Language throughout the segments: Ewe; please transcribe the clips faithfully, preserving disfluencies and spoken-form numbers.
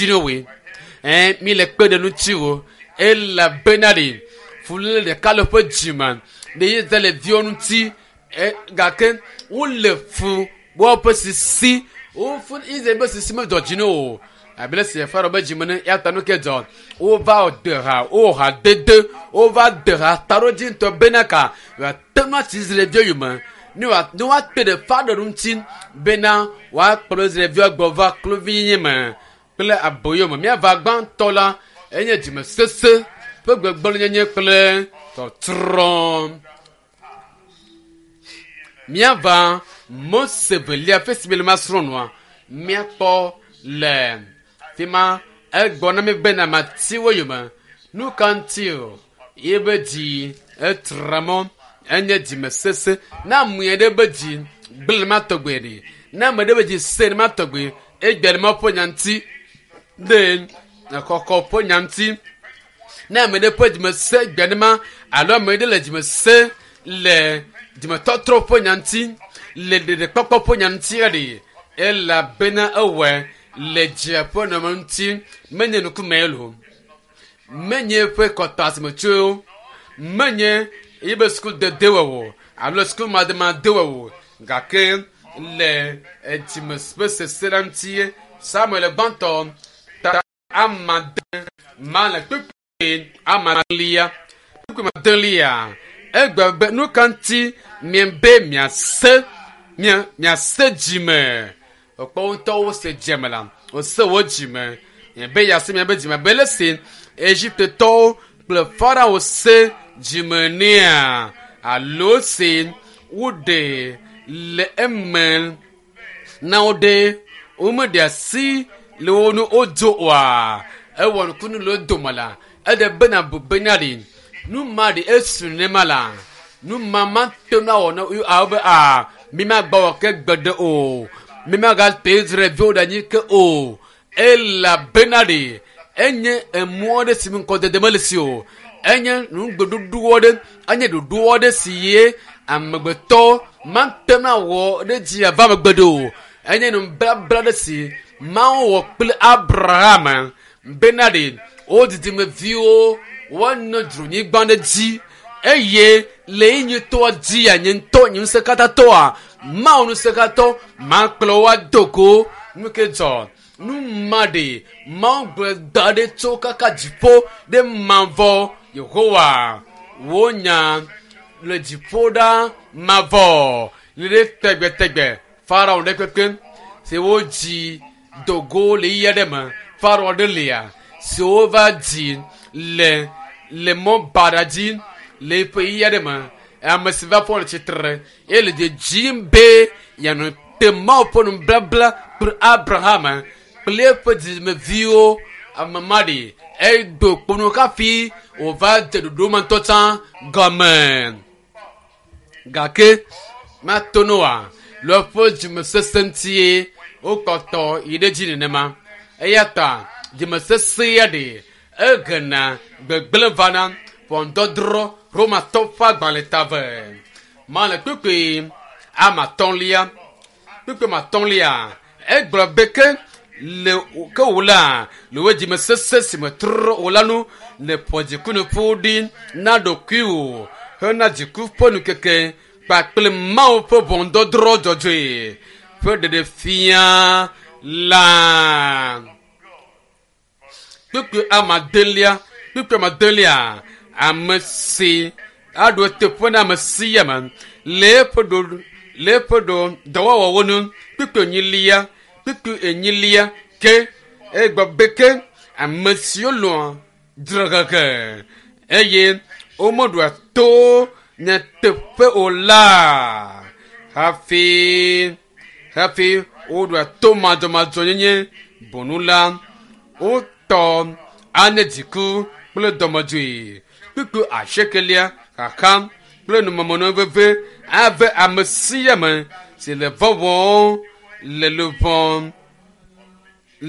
dzi ne woe ɛ mi le kpe ɖe ŋuti wo elabena ɖe fuléle ɖeka le woƒe dzime ɖe Israelviwo ŋuti ɛ gake wole fu woƒe sisi wofu Israel ƒe sisi medzɔ dzi ne o abe le si Farao be dzime ne ya ta nu ke dzɔ wova de ha wowɔ ha dede wova de ha taɖodzi ŋutɔ bena ka wòate ŋu atsi Israelviwo yome ne wòa ne woate ɖe Farao ŋuti bena woakplɔ Israelviwo gbɔ va kluvinyenye me kple aboyo me míava gbãtɔ la enye dzimesese ƒe gbegblẽnyenye kple tɔtrɔ míava Mose velia ƒe si mi le ma srɔ̃ nua míakpɔ le fi ma egbɔ na mi bena mati wo yome nu ka ŋuti o yebe dzi etra mɔ enye dzimesese ne ame ɖe be dzi gblẽ ma tɔgbe ɖe ne ame ɖe be dzi se ne ma tɔgbe egbe le ma ƒe nya ŋuti ɖe xɔxɔ ƒe nya ŋuti ne ame ɖe ƒe dzime se gbe ne ma alo ame ɖe le dzime se le dzimetɔtrɔ ƒe nya ŋuti le ɖeɖekpɔkpɔ ƒe nya ŋuti ɖe elabena ewɔe le dzia ƒe nɔnɔme ŋuti menye nukume lo menye eƒe kɔta si me tso menye yibe sukudede wɔwɔ alo sukumademade wɔwɔ gake le dzime ƒe sese la ŋuti Samuel gbãtɔ ta amade ma le kpekpe amalia kpekpe madelia egbe be nu ka ŋuti miebe miase mia miase dzime ekpɔ ŋutɔ wose dzime la wose wo dzime miebe yease miabe dzime be le si Egiptetɔwo kple Farao se dzime nea alo se woɖe le eme na wo ɖe womeɖe asi le wo nu wodzo oa ewɔ nukunu le wo dome la eɖe bena bu bena ɖi nu ma ɖi esu nema la nu ma ma te ŋu awɔ na awo be a mi ma gbɔ wɔ ke gbe ɖe o mi ma ga te Israelviwo ɖe anyi ke o elabena ɖi enye emɔ ɖe si mi ŋkɔdede mele si o enye nugbeɖuɖu aɖe enye ɖoɖo aɖe si ye amegbetɔ mate ŋu awɔ ɖe dzi ava megbe ɖe o enye nubabla ɖe si Mawu wɔ kple Abraham bena ɖe wo dzidzimeviwo woanɔ dzronyigba ɖe dzi eye le yi nyitɔa dzia nye ŋutɔ nye ŋusẽkatãtɔa Mawu ŋusẽkatɔ makplɔ wo ado go nu ke dzɔ nu ma ɖe Mawu gblɔ da ɖe tso kaka dziƒo ɖe mavɔ Yehowa wo nya le dziƒo ɖa mavɔ le ɖe tegbetegbe Farao ɖe kpekpe si wodzi dogo le ɣi aɖe me Farao ɖe lia si wova dzi le le mɔ baɖa dzi le eƒe ɣi aɖe me ame si va fɔ le tsitre eye le dzedzim be yeanɔ te Mawu ƒe nubabla kple Abraham kple eƒe dzidzimeviwo ame ma ɖe edo kpono hafi wòva dze ɖoɖo ma ŋutɔ tsã gɔme gake mato noa le eƒe dzimesese ŋutie wokpɔtɔ yi ɖe dzi nenema eya ta dzimesese ya ɖe egena gbegblẽ vana ʋɔnudɔdrɔ̃ Romatɔ ƒe agbalẽ ta ve ma le kpekpe ama atɔ̃lia kpekpe ma atɔ̃lia egblɔ be ke le ke wò la le wò dzimesese si me trɔ wò la nu le ƒo dzikunuƒo ɖi na ɖokuiwò hena dziku ƒe nukeke kpakple Mawu ƒe ʋɔnudɔdrɔ̃ dzɔdzɔe ƒe ɖeɖefia la. Kpekpe amadelia kpekpe amadelia ame si aɖo eteƒe na ame sia ame le eƒe ɖo le eƒe ɖo dɔwɔwɔwo nu kpekpe enyilia kpekpe enyilia ke egblɔ be ke ame siwo lɔ̃a dzrehehe eye womeɖoa to nyateƒe o la hafi hafi woɖoa to madzɔmadzɔnyenye bonu la wotɔ anye dziku kple dɔmedzoe kpekpe asiekelia xaxa kple numemɔnɔ veve ave ame sia ame si le vɔvɔm le luʋɔ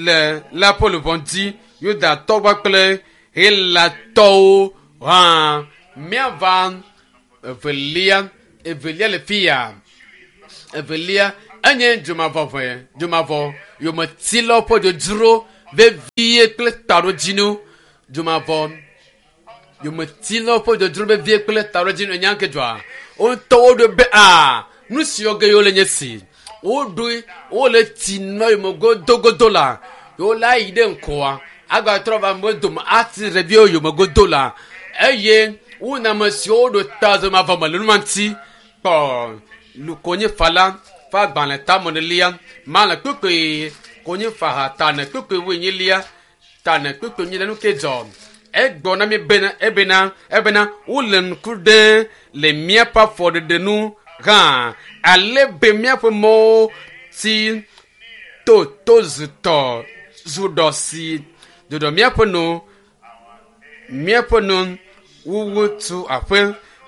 le la ƒe luʋɔ dzi Yudatɔwo kple Helatɔwo hã míava evelia evelia le fi ya evelia enye dzomavɔʋe dzomavɔ yometilawo ƒe dzodzro vevie kple taɖodzinu dzomavɔ yometilawo ƒe dzodzro vevie kple taɖodzinu enya ke dzɔa woŋutɔ woɖoe be a nu siwo ge yewo le nye si woɖoe wole tsi nɔ yome godogodo la yewo la yi ɖe ŋkɔa agbatrɔ va amewo dome ati ɖeviwo yome godo la eye wona ame siwo ɖo ta zɔmavɔ me le nu ma ŋuti kpɔ lukonyifa ƒe agbalẽ tamenelia ma le kpukpui konyifa ha tane kpukpui wuenyilia tane kpukpui nyi le nu ke dzɔ egbɔ na mi bena ebena ebena wole ŋku ɖe le míaƒe afɔɖeɖe nu hã ale be míaƒe mɔwo ti to to zutɔ zu ɖɔ si ɖoɖɔ míaƒe nu míaƒe nu wuwu tu aƒe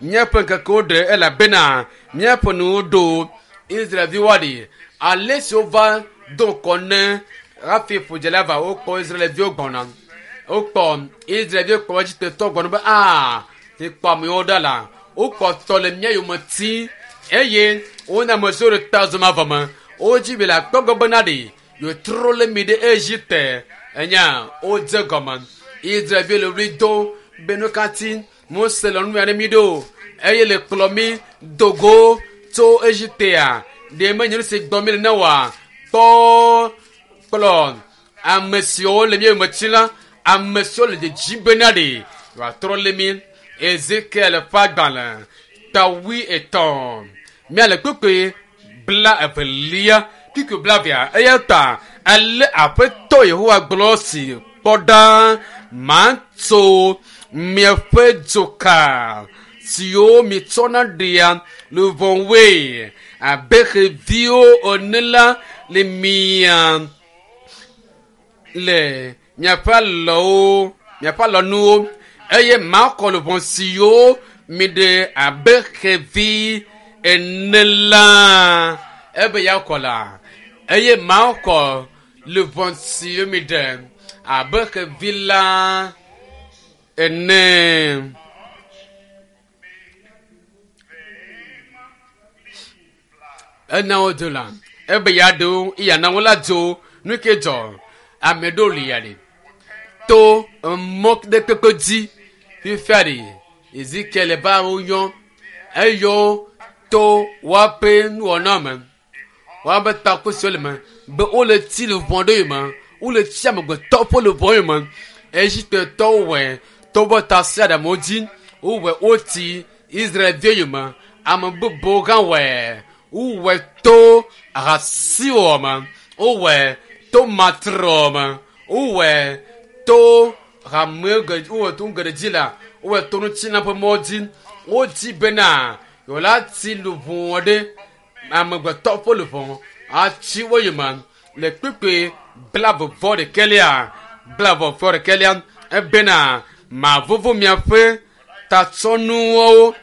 míaƒe ŋkekewo ɖe elabena míaƒe nuwo ɖo Israelviwo ɖi ale si wova do ŋkɔ ne hafi ƒodzela va wokpɔ Israelviwo gbɔna wokpɔ Israelviwo kpɔ Egiptetɔ gbɔna be aa ti kpɔ amewo ɖa la wokpɔtɔ le mía yome ti eye wona ame siwo ɖe ta zɔmavɔ me wodzi be le akpɔ gbɔ bena ɖe yewotrɔ le mi ɖe Egipte enya wodze gɔme Israelviwo le ɣli do be nu katã Mose le nu ya ɖe mi ɖo eye le kplɔ mi dogo tso Egiptea ɖe menye nu si gbɔ mi le ne wa kpɔ kplɔ ame siwo le mía yome ti la ame siwo le dzedzi bena ɖe yewoatrɔ le mi Ezekiel ƒe agbalẽ ta wui etɔ̃ míale kpukpui bla evelia kpukpui bla evea eya ta ale aƒetɔ Yehowa gblɔ si kpɔ ɖa matso miaƒe dzoka siwo mitsɔna ɖea luʋɔwoe abe xeviwo ene la le mia le miaƒe alɔwo miaƒe alɔnuwo eye makɔ luʋɔ siwo miɖe abe xevi ene la ebe yakɔ la eye makɔ luʋɔ siwo miɖe abe xevi la ene. Ena wo do la ebe ya ɖewo iya na wo la dzo nu ke dzɔ ame ɖewo li ya ɖe to mɔ ɖe kpekpe dzi fifia ɖe Ezekiel ba wo yɔ eyɔ to woaƒe nuwɔna me woaƒe takusiwo le me be wole tsi luʋɔ ɖe yome wole tsi amegbetɔ ƒe luʋɔ yome Egiptetɔwo wɔe to woƒe tasiaɖamwo dzi wowɔe wotsi Israelviwo yome ame bubuwo hã wɔe wowɔe to ahasiwɔ me wowɔe to matrɔ me wowɔe to hame ge wowɔe to nu geɖe dzi la wowɔe to nutsina ƒe mɔ dzi wodzi bena yewo la tsi luʋɔ ɖe amegbetɔ ƒe luʋɔ atsi wo yome le kpukpui blaeve vɔ ɖekɛlia blaeve vɔ ɖekɛlia ebena mavovo miaƒe tatsɔnuwo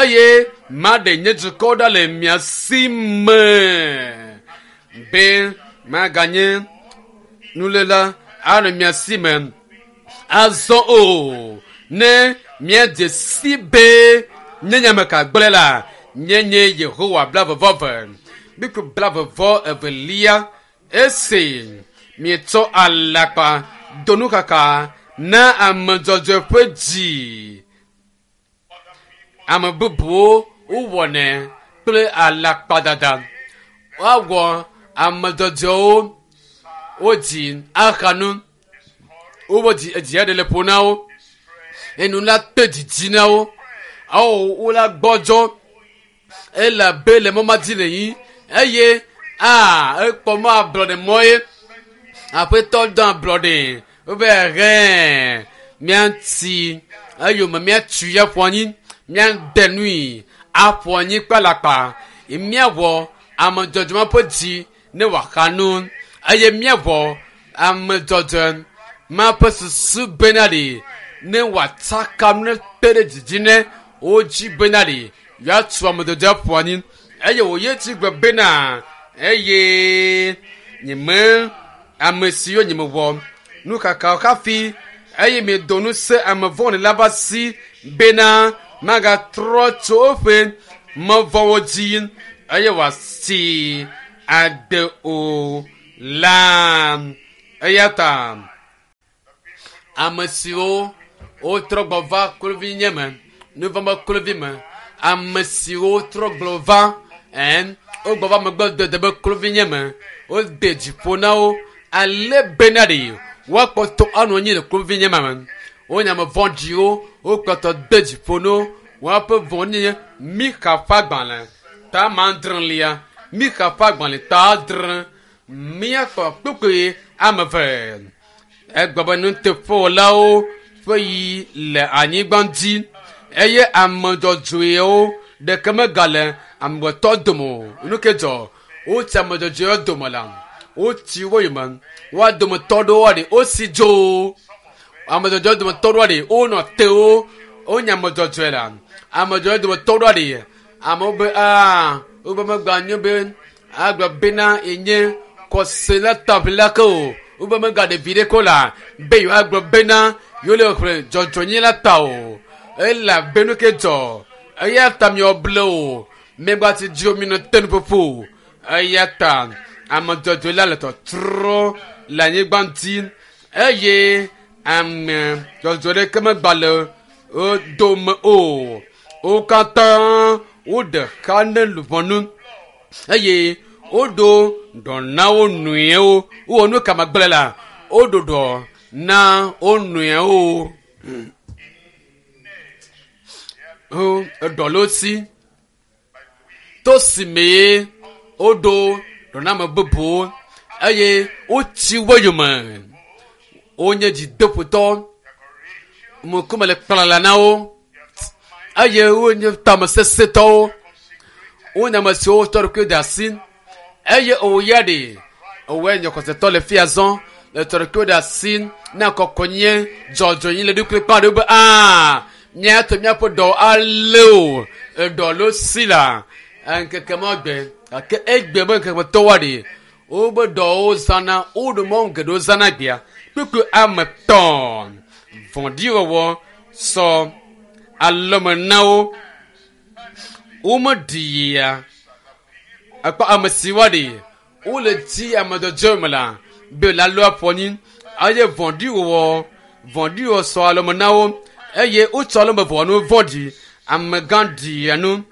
eye maɖe nye dukɔ ɖa le mia si me be maganye nuléla anɔ mia si me azɔ o ne miadze si be nye nyame ka gblẽ la nye nye Yehowa blaeve vɔ eve bíku blaeve vɔ evelia esi mietsɔ alakpa do nukaka na ame dzɔdzɔe ƒe dzi ame bubuwo wowɔnɛ kple alakpadada woawɔ ame dzɔdzɔewo wodzi aha nu woƒe dzi edzi aɖe le ƒo na wo enu la te dzidzi na wo awo wo la gbɔdzɔ elabe le mɔ ma dzi le yi eye aa ekpɔ mɔ ablɔɖe mɔ ye aƒetɔ dɔ ablɔɖe wobe hɛ míatsi eyome míatui aƒu anyi míade nui aƒu anyi kple alakpa míawɔ ame dzɔdzɔe ma ƒe dzi ne wòaxa nu eye míawɔ ame dzɔdzɔe ma ƒe susu bena ɖe ne wòatsaka nu ne te ɖe dzidzi ne wodzi bena ɖe yewoatu ame dzɔdzɔe aƒu anyi eye wòye tsi gbe bena eye nyeme ame siwo nyemewɔ nukakawo hafi eye miedo ŋusẽ ame vɔ̃ɖi la ƒe asi bena magatrɔ tso eƒe mɔ vɔ̃wo dzi eye wòasi agbe o la Eya ta ame siwo wotrɔ gbɔ va kluvinye me, nuvɔ̃ be kluvi me, ame siwo trɔ gbɔ va ɛn wogbɔ va megbe dede be kluvinye me, wode dziƒo na wo ale bena ɖe woakpɔtɔ anɔ anyi le kluvinye ma me. Wonye ame vɔ̃ɖiwo, wokpɔtɔ de dziƒo na wo. Woaƒe vɔ̃ɖinyenye Mixa ƒe agbalẽ ta adrelia, Mixa ƒe agbalẽ ta adre, míakpɔ kpukpui ame eve. Egblɔ be nuteƒewɔlawo ƒe yi le anyigba dzi eye ame dzɔdzɔewo ɖeke megale amegbetɔ dome o. Nu ke dzɔ wotsi ame dzɔdzɔewo dome la, wotsi wo yome. Woa dometɔ ɖewo ɖe wosi dzo. Ame dzɔdzɔewo dometɔ ɖewo ɖe wonɔ te wo. Wonye ame dzɔdzɔe la. Ame dzɔdzɔewo dometɔ ɖewo ɖe amewo be aa wobe megba nyo be agblɔ bena yenye kɔsela taʋlila ke o. Wobe megaɖe vi ɖe ko la be yewoagblɔ bena yewo le xlẽ dzɔdzɔenyenye la ta o. Elabe nu ke dzɔ eya ta miewɔ ble o. Megba ti dzo mi nɔ te nuƒoƒo o. Eya ta ame dzɔdzɔe la le tɔtrɔ le anyigba dzi eye ame dzɔdzɔe ɖeke megba le wo dome o. Wo katã woɖe xa ne luʋɔnu eye woɖo ɖɔ na wo nɔewo. Wowɔ nu ka magblẽ la, woɖo ɖɔ na wo nɔewo. Wo eɖɔ le wo si. To si mee woɖo ɖɔ na ame bubuwo eye wotsi wo yome. Wonye dzideƒotɔ. Ŋkume le kplala na wo eye wonye tamesesẽtɔwo. Wonye ame siwo tsɔ ɖokui de asi eye wò ya ɖe wòe nye xɔsetɔ le fia zɔ le tsɔ ɖokui de asi na kɔkɔnye dzɔdzɔenye le ɖokui kpã ɖe be aa míato míaƒe dɔ alé o eɖɔ le si la ŋkeke ma gbe gake egbe be ŋkeke tɔwoa ɖe wobe dɔwo zãna woɖo mɔnu geɖewo zãna gbea kpukpui ame tɔ̃ vɔ̃ɖiwɔwɔ sɔ alɔme na wo womeɖia ekpɔ ame si wa ɖe wole dzi ame dzɔdzɔe me la be la lɔ aƒɔ anyi eye vɔ̃ɖiwɔwɔ vɔ̃ɖiwɔwɔ sɔ alɔme na wo eye wotsɔ alɔme ʋɔnu vɔ̃ɖi amegã ɖia nu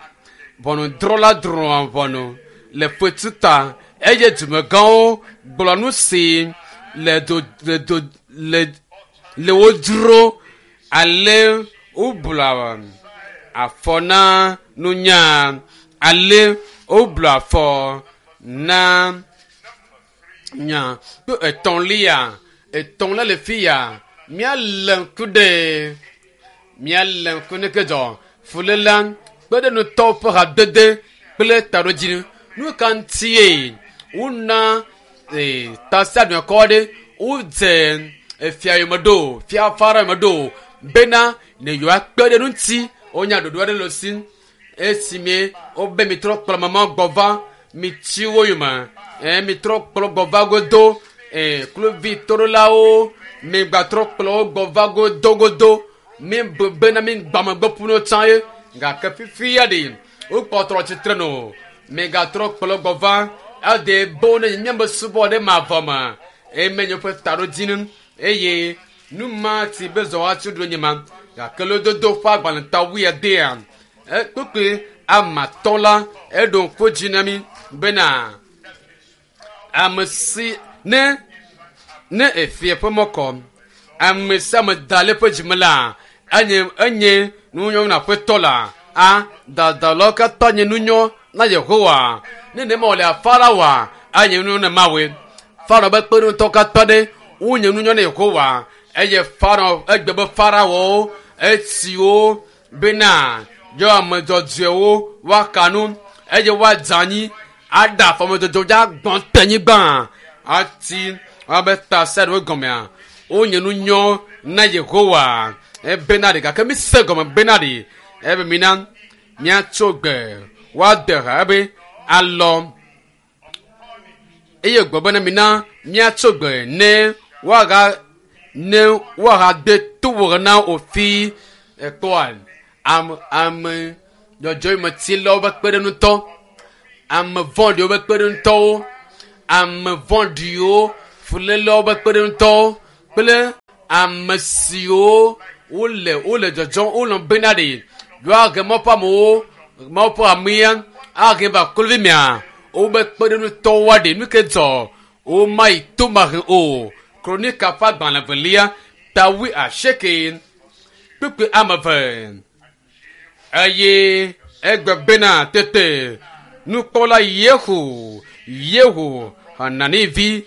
ʋɔnudrɔ̃la drɔ̃a ʋɔnu le fetu ta eye dumegãwo gblɔ nu si le do le do le le wo dzro ale wobla afɔ na nunya ale wobla afɔ na nya kple etɔ̃lia etɔ̃lia le fi ya míalé ŋku ɖe míalé ŋku ne ke dzɔ fuléla kpe ɖe nutɔwo ƒe hadede kple taɖodzinu. Nu ka ŋutie wona ee tasiaɖamkɔ aɖe wodze efia yome ɖo fia Farao yome ɖo bena ne yewoakpe ɖe ŋuti wonya ɖoɖo aɖe le si esime wobe mitrɔ kplɔ mama gbɔ va mitsi wo yome ɛ mitrɔ kplɔ gbɔ va godo ɛ kluvi toɖolawo migbatrɔ kplɔ wo gbɔ va godo godo mi be bena mi gbamegbe ƒu tsã ye gake fifi ya ɖe wokpɔtɔ tsitre no migatrɔ kplɔ gbɔ va ede bo ne míabe subɔ ɖe mavɔ me eme nye ƒe taɖodzinu eye nu ma ti be zɔ atsi ɖo nye ma gake lododo ƒe agbalẽ ta wuiadea kpukpui ame atɔ̃ la eɖo ŋku dzi na mi bena ame si ne ne efia ƒe mɔ kɔ ame sia ame da le eƒe dzime la enye enye nunyɔ na aƒetɔ la a dadalawo katã nye nunyɔ na Yehowa ne ne ma wòle Faraoa enye nunyɔ na Mawu Farao be kpeɖeŋutɔwo katã ɖe wonye nunyɔ na Yehowa eye Farao egbe be Faraowo esiwo bena yɔ ame dzɔdzɔewo woaka nu eye woadze anyi aɖe afɔ ame dzɔdzɔewo dzi agbɔ̃ te anyigba ati woabe tasiaɖewo gɔmea wonye nunyɔ na Yehowa ebena ɖe gake mi se gɔme bena ɖe ebe mina míatso gbe woade ha ebe alɔ eye gbɔ bena mina míatso gbe ne woaga ne woahade to na wofi ekpɔa ame ame dzɔdzɔmetilawo be kpeɖeŋutɔ ame vɔ̃ɖiwo be kpeɖeŋutɔwo ame vɔ̃ɖiwo Fulélewo be kpeɖeŋutɔwo kple ame siwo wole wole dzɔdzɔm wolɔ bena ɖe yewoahe Mawu ƒe amewo Mawu ƒe amea ahe va kluvi mea wobe kpeɖeŋutɔwoa ɖe nu ke dzɔ womayi to mahe o. Kronika ƒe agbalẽ velia ta wui asieke kpukpui ame eve eye egbe bena tete nukpɔla Yehu Yehu Hanani vi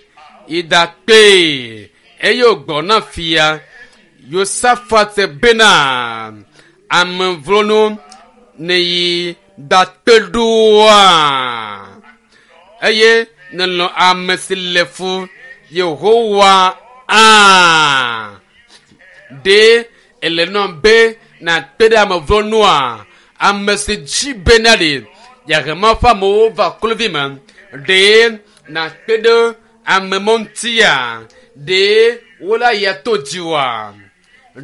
yi ɖakpee eye wògblɔ na fia Yosafat bena ame vlonu neyi ɖakpe ɖoa eye nelɔ ame si le fu Yehowa aa ɖe ele nɔ be nàkpe ɖe ame vlonua ame si dzi bena ɖe yeahe Mawu ƒe amewo va kluvi me ɖe nàkpe ɖe ame mɔ ŋutia ɖe wola ya to dziwòa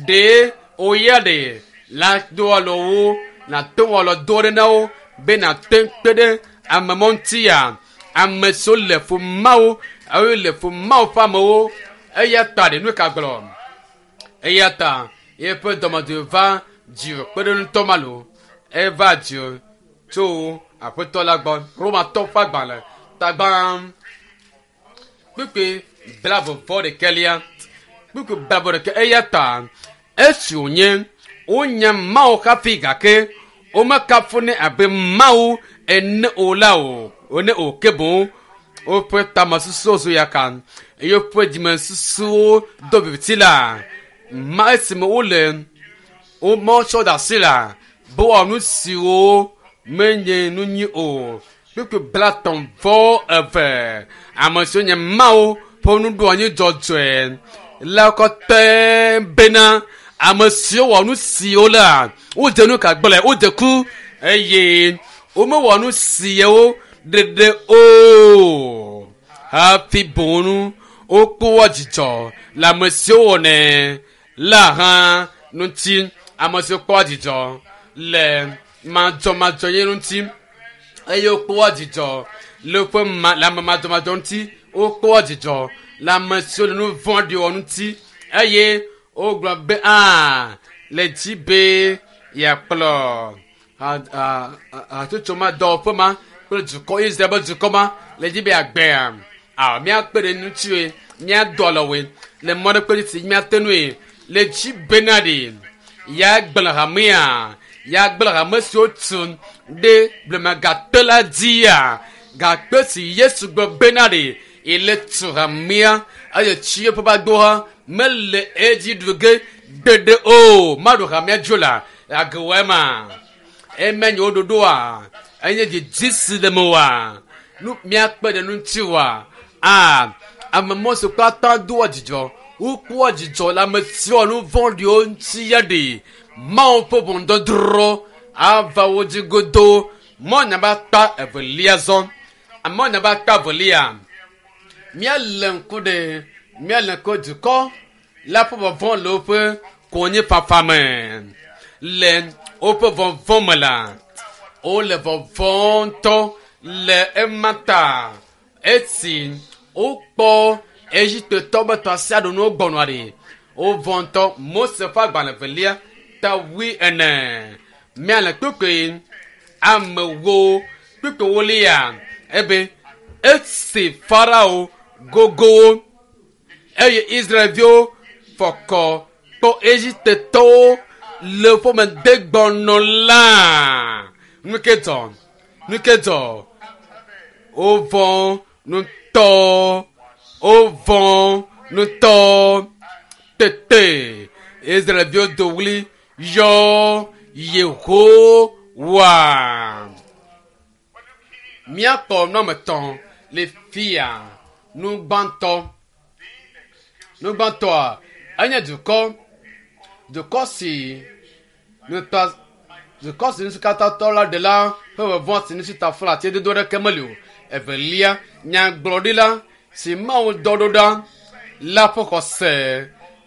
ɖe woya ɖe la do alɔ wo nàte ŋu alɔ do ɖe na wo be nàte kpe ɖe ame mɔ ŋutia ame siwo le fu Mawu eye le fu Mawu ƒe amewo eya ta ɖe nu ka gblɔ eya ta yeƒe dɔmedzoe va dziwò kpeɖeŋutɔ ma lo eva dziwò tso aƒetɔ la gbɔ. Romatɔ ƒe agbalẽ tagbã kpukpui blaeve vɔ ɖekɛlia kpukpui blaeve ɖeke eya ta esi wònye wonya Mawu hafi gake womekafunɛ abe Mawu ene o la o ene o ke boŋ woƒe tamesusuwo zu yaka eye woƒe dzimesusuwo do viviti la ma esime wole wometsɔ da asi la be woawɔ nu siwo menye nu nyui o. Kpukpui blatɔ̃ vɔ eve ame siwo nye Mawu ƒe nuɖoanyi dzɔdzɔe la kɔtɛ bena ame siwo wɔ nu siwo la wodze nu ka gblɔe wodze ku eye womewɔ nu siawo ɖeɖe o hafi boŋ nu wokpɔa dzidzɔ le ame siwo wɔnɛ la hã ŋuti ame siwo kpɔa dzidzɔ le madzɔmadzɔnyenye ŋuti eye wokpɔa dzidzɔ le woƒe ma le ame madzɔmadzɔ ŋuti wokpɔa dzidzɔ le ame siwo le nu vɔ̃ɖi wɔm ŋuti eye wogblɔ be aa le dzi be yeakplɔ hatsotso ma dɔwɔƒe ma kple dukɔ Israel be dukɔ ma le dzi be yeagbea a míakpe ɖe ŋutiwoe míadɔ alɔwoe le mɔ ɖe kpe si míate ŋui le dzi bena ɖe yeagblẽ hamea yeagblẽ hame siwo tu ɖe blema gakpe la dzia gakpe si Yesu gblɔ bena ɖe ele tu hamea eye tsi eƒe agboha mele edzi ɖu ge gbeɖe o maɖu hamea dzo la agewɔe ma eme nye wo ɖoɖoa enye dzidzi si le mewòa nu míakpe ɖe ŋuti woa a ame mɔ si katã doa dzidzɔ wokpɔa dzidzɔ le ame siwo nu vɔ̃ɖiwo ŋuti ya ɖe Mawu ƒe ʋɔnudɔdrɔ̃ ava wo dzi godoo. Mɔ nyaba akpa evelia zɔ mɔ nyaba akpa evelia míalé ŋku ɖe míalé ŋku dukɔ la ƒe vɔvɔ̃ le woƒe konyifafa me le woƒe vɔvɔ̃ me la wole vɔvɔ̃ ŋutɔ le ema ta esi wokpɔ Egiptetɔwo be tasiaɖenuwo gbɔnɔa ɖe wovɔ̃ ŋutɔ. Mose ƒe agbalẽ velia ta wui ene míale kpukpui amewo kpukpui wolia ebe esi Farao gogowo eye Israelviwo fɔkɔ kpɔ Egiptetɔwo le woƒe medegbɔnɔ la nu ke dzɔ nu ke dzɔ wovɔ̃ ŋutɔ wovɔ̃ ŋutɔ tete Israelviwo do ɣli yɔ Yehowa. Míakpɔ nɔme tɔ̃ le fia nu gbãtɔ nu gbãtɔa enye dukɔ dukɔ si nuta dukɔ si nusikatãtɔ la ɖe la ƒe vɔvɔ̃ si nusi tafla ati dodo ɖeke meli o. Evelia nyagblɔɖila si Mawu dɔ ɖo ɖa la ƒe xɔse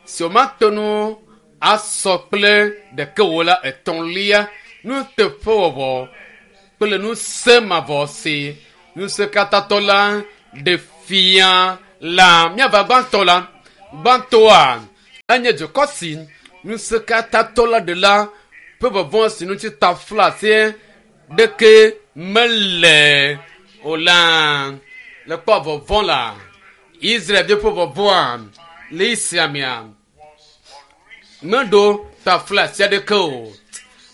si womate ŋu asɔ kple ɖeke wo la. Etɔ̃lia nuteƒewɔwɔ kple ŋusẽ mavɔ si ŋusẽkatãtɔ la ɖe fia La míava gbãtɔ la gbãtɔa enye dukɔ si ŋusẽkatãtɔ la ɖela ƒe vɔvɔ̃ si ŋuti taflatse ɖeke mele o la le kpɔ vɔvɔ̃ la Israelviwo ƒe vɔvɔ̃a le esia mea meɖo taflatse aɖeke o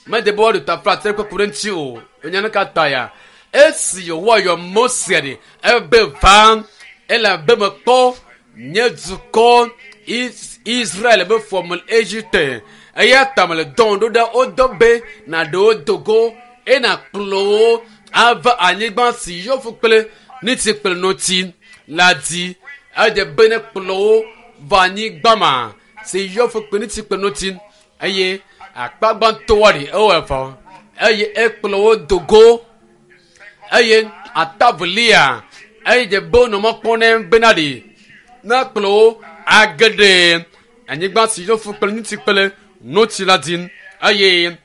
mede be woaɖo taflatse ɖeke ku ɖe ŋuti o enya nu ka ta ya esi Yehowa yɔ Mose ɖe ebe va elabe mekpɔ nye dukɔ Is- Israel be fɔme le Egipte eya ta mele dɔn ɖo ɖa wodɔ be naɖe wo dogo eye nakplɔ wo ava anyigba si yɔfu kple niti kple notsi la dzi edze be ne kplɔ wo va anyigba ma si yɔfu kple niti kple notsi eye akpa gbãtɔwoa ɖi ewɔ evɔ eye ekplɔ wo dogo eye atavelia eye dze be wonɔ mɔ kpɔm nɛ bena ɖi ne kplɔ wo age ɖe anyigba si yɔfu kple ŋuti kple notsi la dzi eye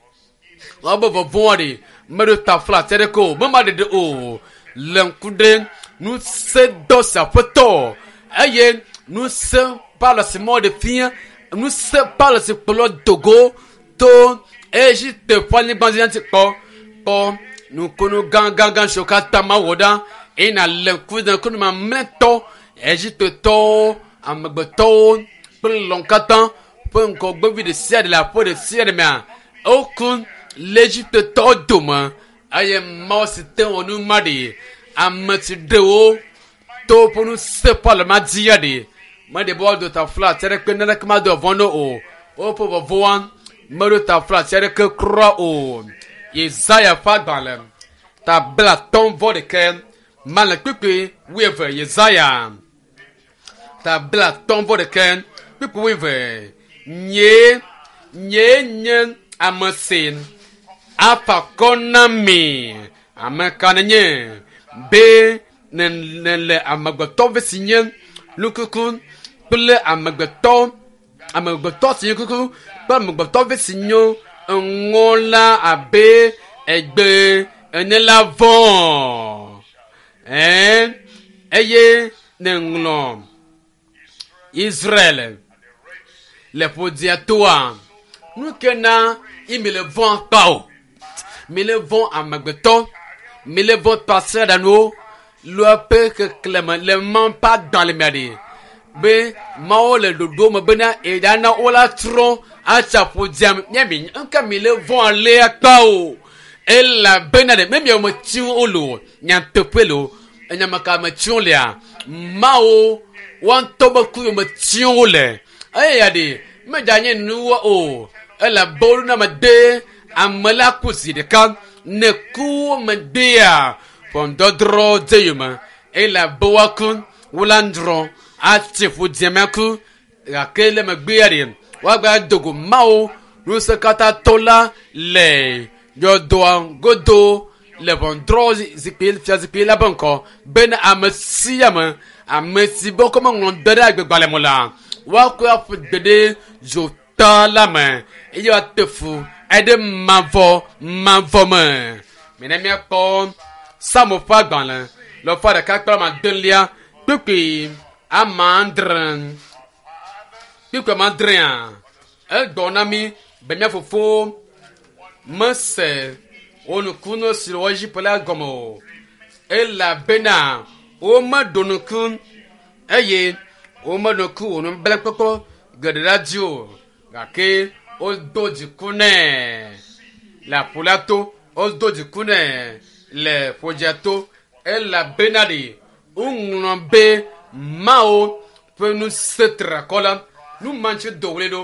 woabe vɔvɔ̃a ɖi meɖo taflatse ɖeke o mema ɖeɖe o le ŋku ɖe ŋusẽdɔ si aƒetɔ eye ŋusẽ ƒe si mɔ ɖe fia ŋusẽ ƒe si kplɔ dogo to Egipte ƒe anyigba dzi ŋuti kpɔ kpɔ nukunu gãgãgã siwo katã mawɔ ɖa eye nàlé ŋku ɖe ŋkunu mamlɛtɔ Egiptetɔwo amegbetɔwo kple lɔ̃ katã ƒe ŋgɔgbevi ɖe sia ɖe le aƒe ɖe sia ɖe mea woku le Egiptetɔwo dome eye Mawu si te wɔ nu ma ɖi ame si ɖe wo to woƒe ŋusẽ ƒe alɔma dzi ya ɖi meɖe be woado taflatse aɖeke naneke mado vɔ̃ no o woƒe vɔvɔ̃a meɖo taflatse aɖeke kura o Yesaya ƒe agbalẽ ta blatɔ̃ vɔ ɖeke male kpukpui wuieve Yesaya ta blatɔ̃ vɔ ɖeke kpukpui wuieve nye nye nye ame si afa akɔ na mi ame ka nenye be ne ne le amegbetɔ vi si nye nukuku kple amegbetɔ amegbetɔ si nye kuku kple amegbetɔ vi si nyo eŋɔ la abe egbe ene la vɔ̃ ɛn eye neŋlɔ Israel le ƒodia toa nu ke na ye mi le vɔ̃ akpa o mi le vɔ̃ amegbetɔ mi le vɔ̃ tasiaɖanuwo le woƒe keklẽme le Mawu ƒe agbalẽ mea ɖe be Mawu le ɖoɖo me bena eɖana wo la trɔ atsi aƒodia me míami ŋka mi le vɔ̃ alea kpa o elabena ɖe me miawo metsi wo le o nyateƒe le o enyame ka metsi wo lea Mawu woa ŋutɔ be ku metsi wo le eya ɖe medzanye nuwɔ o elabe wo na me de ame la ku zi ɖeka ne ku me dea ʋɔnudɔdrɔ̃ dze yome elabe woaku wola ŋdrɔ atsi ƒodia me ku gake le megbea ɖe woagba dogo Mawu ŋusẽkatãtɔ la le yɔdoa godo le ʋɔnudrɔ̃ zikpui fiazikpui la be ŋkɔ bena ame sia ame ame si be wokɔ meŋlɔ da ɖe agbegbalẽ me o la woakɔe aƒu gbe ɖe dzota la me eye woate fu eɖe mavɔ mavɔ me mina míakpɔ Psalmo ƒe agbalẽ le ƒe ɖeka kple ame adelia kpukpui ame adre kpukpui ame adrea egblɔ na mí be mía fofowo mese wo nukunu si le wɔ Egipte la gɔme o elabena womeɖo ŋku eye womeɖo ŋku wò nublanuikpɔkpɔ geɖe la dzi o gake wodo dziku nɛ le aƒu la to wodo dziku nɛ le ƒodzia to elabena ɖe woŋlɔ be Mawu ƒe ŋusẽ triakɔ la nu ma ŋuti do ɣli ɖo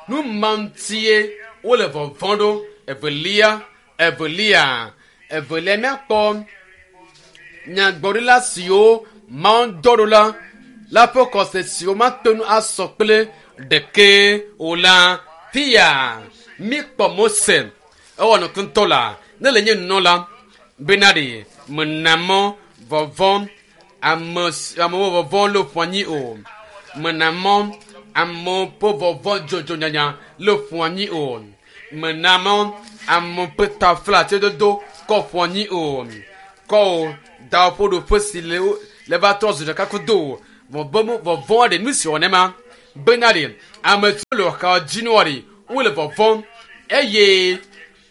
nu ma ŋutie wole vɔvɔ̃ ɖo evelia evelia evelia míakpɔ nyagblɔɖila siwo Mawu dɔ ɖo la la ƒe xɔse siwo mate ŋu asɔ kple ɖeke o la fia míkpɔ Mose ewɔ nuku la ne le nye nunɔla bena ɖe mena mɔ vɔvɔ̃ ame amewo vɔvɔ̃ le ƒo anyi o mena mɔ amewo ƒe vɔvɔ̃ dzodzo nyanya le ƒo anyi o mena mɔ amewo ƒe taflatsedodo kɔ ƒo anyi o kɔ o da woƒe ɖoƒe si le le va trɔ zu ɖeka kudo o Vɔvɔ̃ ɖe nu si wɔ nema bena ɖe ame siwo le xɔ dzi nua ɖe wole vɔvɔ̃m eye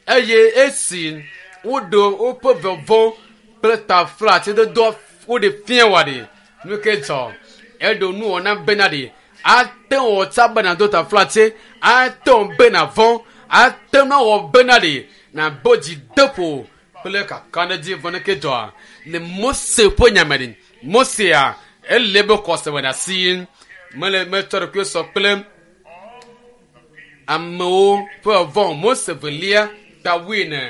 eye esi woɖo woƒe vɔvɔ̃ kple taflatsedodoa woɖe fia wɔ ɖe nu ke dzɔ eɖo nuwɔna bena ɖe ate wɔ tsa bena do taflatse ate wɔ bena vɔ̃ ate ŋu awɔ bena ɖe nabo dzi de ƒo kple kakaɖedzi vɔ ne ke dzɔa le Mose ƒe nyame ɖe Mosea ele be xɔse wɔ ɖe asi mele metsɔ ɖokui sɔ kple amewo ƒe vɔ̃ Mose velia ta wuiene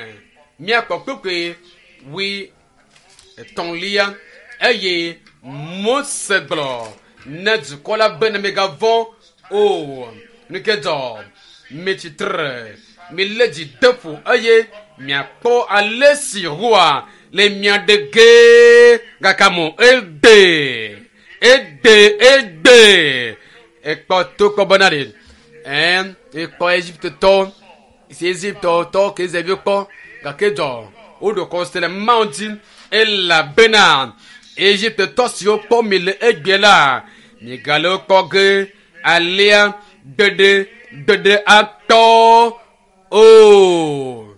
míakpɔ kpekpe wui etɔ̃lia eye Mose gblɔ ne dukɔ la be ne megavɔ̃ o nu ke dzɔ mitsi tre milé dzi de ƒo eye miakpɔ ale si Yehowa le mia ɖe ge gake mo egbe egbe egbe ekpɔ to kpɔ bena ɖe ɛn ekpɔ Egiptetɔ si Egiptetɔ ke Israelviwo kpɔ gake dzɔ woɖo kɔse le Mawu dzi elabena Egiptetɔ siwo kpɔ mi le egbe la migale wo kpɔ ge alea gbeɖe gbeɖe atɔ o.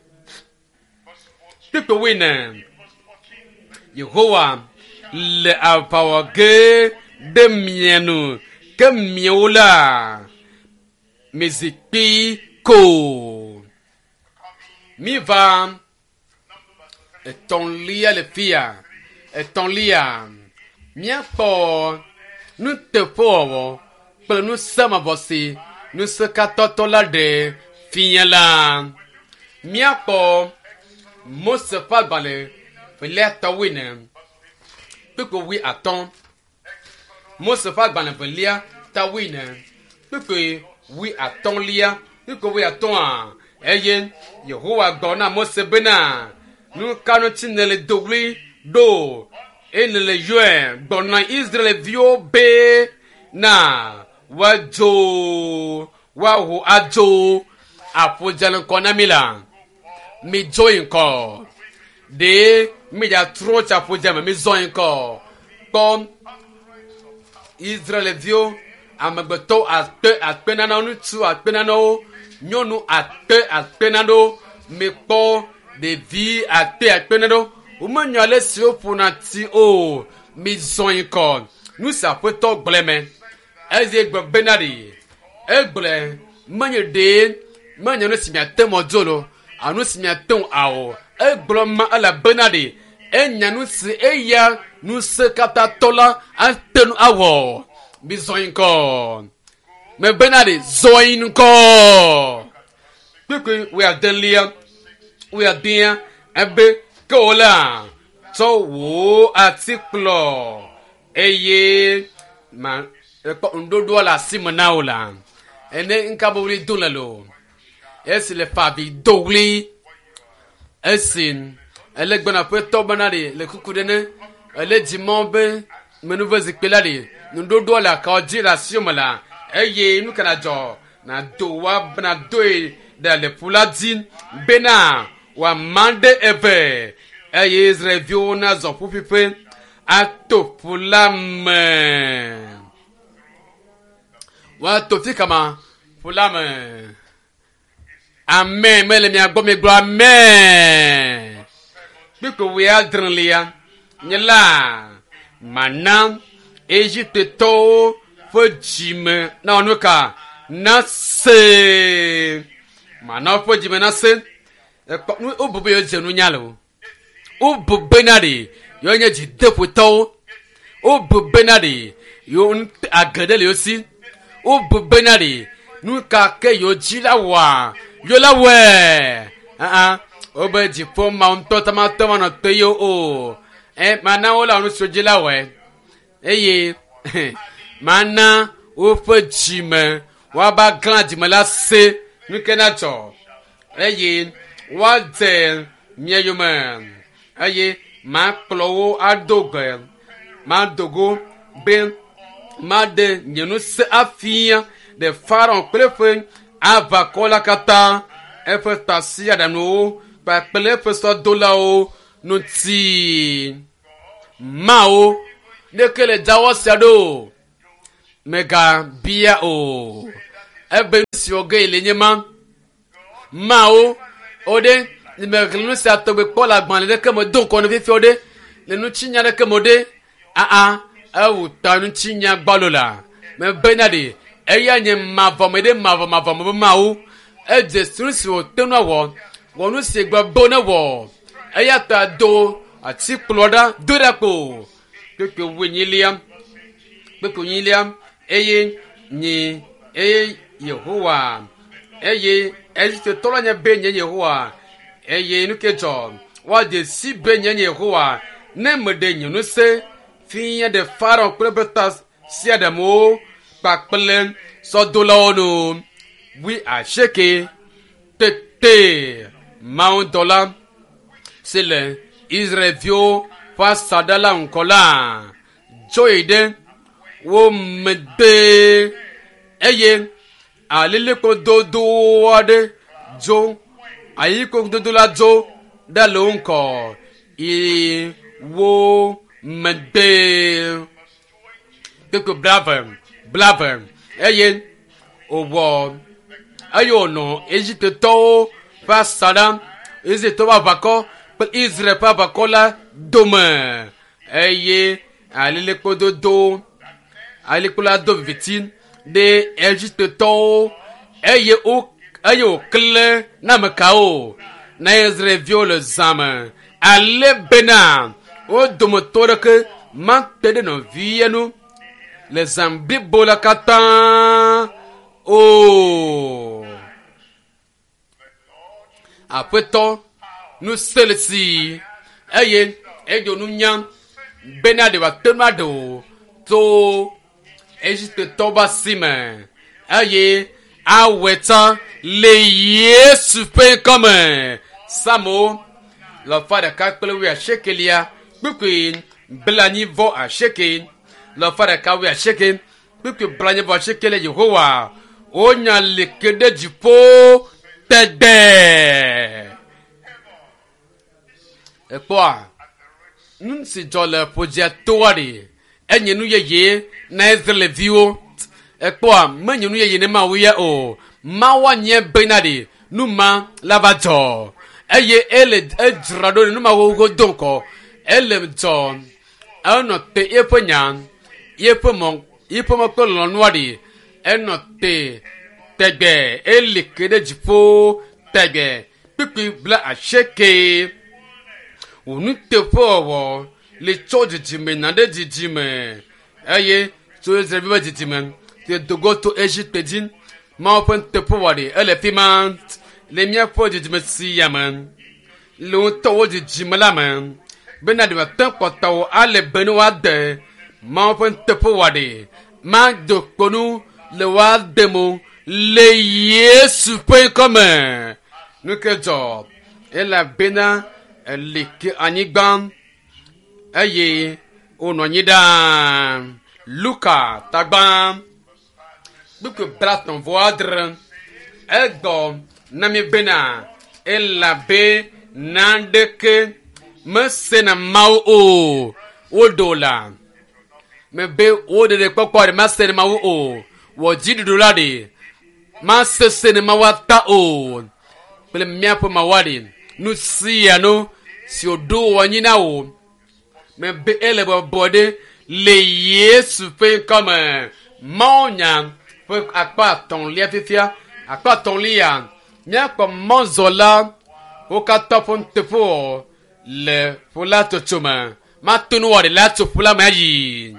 Kpukpui wuiene Yehowa le aʋa wɔ ge ɖe mia nu ke miawo la mizi kpi ko. Miva etɔ̃lia le fia etɔ̃lia míakpɔ nuteƒewɔwɔ kple ŋusẽ si ŋusẽkatãtɔ la ɖe fia la. Míakpɔ Mose ƒe agbalẽ velia ta wuiene kpukpui wui atɔ̃. Mose ƒe agbalẽ velia ta wuiene kpukpui wui atɔ̃lia kpukpui wui atɔ̃a eye Yehowa gblɔ na Mose bena nu ka ŋuti nèle do ɣli ɖo eye nèle yɔe gblɔ na Israelviwo be na woadzo woaho adzo aƒu dze le ŋkɔ na mi la midzo yi ŋkɔ ɖe midzatrɔ tsi aƒu dze me mizɔ yi ŋkɔ kpɔ Israelviwo amegbetɔwo akpe akpe nanewo ŋutsu akpe nanewo nyɔnu akpe akpe nanewo mikpɔ ɖevi akpe akpe nanewo womenya ale si woƒona ti o mizɔ yi ŋkɔ nu si aƒetɔ gblẽ me eye gblɔ bena ɖe egblẽ menye ɖe menye nu si miate ŋu adzo lo alo nu si miate ŋu awɔ egblɔ ma elabena ɖe enya nu si eya ŋusẽkatãtɔ la ate ŋu awɔ mizɔ yi ŋkɔ mebena ɖe zɔ yi ŋkɔ kpukpui wuiadelia wuiadea ebe ke wo la tsɔ wò atikplɔ eye ma ekpɔ ŋuɖoɖoa le asi me na wo la ene ŋka be ɣli do le lo esi le fa avi do ɣli esi ele gbɔna ƒetɔ bena ɖe le kuku ɖe ne ele dzimɔ be menuve zikpui la ɖe nuɖoɖoa le akawo dzi le asi me la eye nu ka na dzɔ nado wa nadoe ɖe le ƒu la dzi bena wòama ɖe eve eye Israelviwo nazɔ ƒuƒuƒe ato ƒu la me woato fi kama ƒu la me amen mele mia gbɔ mi gblɔ amen kpukpui wuiadrelia nye la mana Egiptetɔwo ƒe dzime na nu ka nase mana woƒe dzime nase ekpɔ nu wobu be yewo dze nunya le o wobu bena ɖe yewo nye dzideƒotɔwo wobu bena ɖe yewo ŋut age ɖe le yewo si wobu bena ɖe nu ka ke yewo dzi la wɔa yewo la wɔe aa wobe dziƒo ma ŋutɔ tamatɔ manɔ te yewo o ɛ mana wo la nu siwo dzi la wɔe eye mana woƒe dzime woava glã dzime la se nu ke na dzɔ eye woadze mia yome eye makplɔ wo ado gbe mado go be maɖe nye ŋusẽ afia ɖe Farao kple eƒe aʋakɔ la katã eƒe tasiaɖaŋuwo kpakple eƒe sɔdolawo ŋuti. Mawo ɖeke le dzawɔ sia ɖo Megabia o. Ebe nu si wɔ ge le nye ma. Mawo o ɖe mexlẽ nu sia tɔgbe kpɔ le agbalẽ ɖeke me do ŋkɔ ne fifia o ɖe le ŋutinya ɖeke me o ɖe aa ewu ta ŋutinya gbalo la mebena ɖe eya nye mavɔme ɖe mavɔmavɔme be Mawu edze si nu si wòte ŋu awɔ wɔ nu si gblɔ be ne wɔ eya ta do atikplɔ ɖa do ɖa kpo kpekpe wuenyilia kpekpe wuenyilia eye nye eye Yehowa eye Egiptetɔ la nye be nye Yehowa eye nu ke dzɔ woadze si be nye Yehowa ne meɖe nye ŋusẽ fia ɖe Farao kple eƒe tasiaɖamwo kpakple sɔdolawo nu wui asieke tete mawudɔla si le Israelviwo ƒe asaɖa la ŋgɔ la dzo yi ɖe wo megbe eye alilikpo dodo aɖe dzo alilikpo dodo la dzo ɖe le wo ŋgɔ yi wo megbe kpekpe blave blave eye wòwɔ eye wònɔ Egiptetɔwo ƒe asaɖa Egiptetɔwo ƒe aʋakɔ kple Israel ƒe aʋakɔ la dome eye alilikpo dodo alilikpo la do viviti ɖe Egiptetɔwo eye wo eye wòklẽ na ame kawo na Israelviwo le zã me ale bena wo dometɔ ɖeke mate ɖe nɔvia nu le zã blibo la katã o. Aƒetɔ ŋusẽ le si eye eɖo nunya bena ɖe wòate ŋu aɖe wò tso Egiptetɔwo ƒe asi me eye awɔe tsã le Yesu ƒe ŋkɔme. Psalmo alafa ɖeka kple wuiasiekelia kpukpui blaenyi vɔ asieke alafa ɖeka wuiasieke kpukpui blaenyi vɔ asieke le Yehowa wonya li ke ɖe dziƒo tegbee. Ekpɔa nu si dzɔ le ƒodzia toa ɖe enye nu yeye na Israelviwo. Ekpɔa menye nu yeye ne Mawu ya o. Mawu anye bena ɖe nu ma la va dzɔ eye ele edzra ɖo ɖe nu ma xoxo do ŋgɔ ele dzɔ enɔ te eƒe nya eƒe mɔ eƒe mɔ kple lɔlɔ̃nua ɖe enɔ te tegbe eli ke ɖe dziƒo tegbe kpukpui bla asieke wò nuteƒewɔwɔ le tso dzidzime na ɖe dzidzime eye tso Israelviwo ƒe dzidzime te dogo to Egipte dzi Mawu ƒe nuteƒewɔwɔ ɖe ele fi ma le míaƒe dzidzime sia me le ŋutɔwo dzidzime la me bena ɖe wòate kpɔtɔwo ale be ne woade Mawu ƒe nuteƒewɔwɔ ɖe mado kpo nu le woade mo le Yesu ƒe ŋkɔme. Nu ke dzɔ elabena eli ke anyigba eye wonɔ anyi ɖaa. Luka tagba kpukpui blaetɔ̃ vɔ adre egbɔ na mi bena elabe naneke mesena Mawu o. Woɖo la mebe wo ɖeɖe kpɔkpɔ ɖe mase ne Mawu o. Wɔ dziɖuɖu la ɖe masese ne Mawu ata o. Kple míaƒe Mawua ɖe nu sia nu si wòɖo wɔ anyi na wò mebe ele bɔbɔ ɖe le Yesu ƒe ŋkɔme. Mawu nya ƒe akpa atɔ̃lia fifia akpa atɔ̃lia míakpɔ mɔzɔla wo katã ƒe nuteƒewɔ le ƒu la tsotso me. Mate ŋu wɔ ɖe la tso ƒu la me ayi.